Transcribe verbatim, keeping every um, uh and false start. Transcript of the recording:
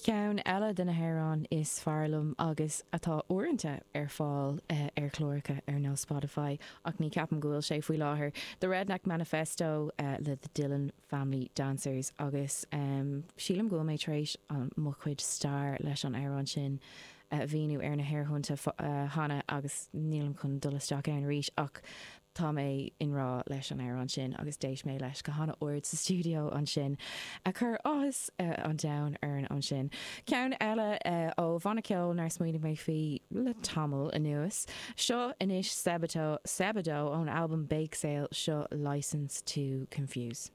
Ceann eile de na hamhráin is fearr liom agus atá uaireanta ar fáil uh, ar chláracha ar nós Spotify ach ní ceapaim go bhfuil sé faoi láthair. The Redneck Manifesto uh, le the Dillon Family Dancers agus um, sílim go mé tar éis mo chuid stair leis an amhrán sin uh, mhíniú ar na haerthonnta uh, cheana agus nílim chun dul isteach ann arís ach tá mé i ngrá leis an amhrán sin agus d'éist mé leis go han-ard sa studio ansin a chur áthas uh, an domhain orm ansin. Ceann eile uh, ó bhanna ceoil nár smaoinigh mé faoi le tamall anuas. Seo anois Sebadoh Sebadoh ón album Bake Sale seo License to Confuse.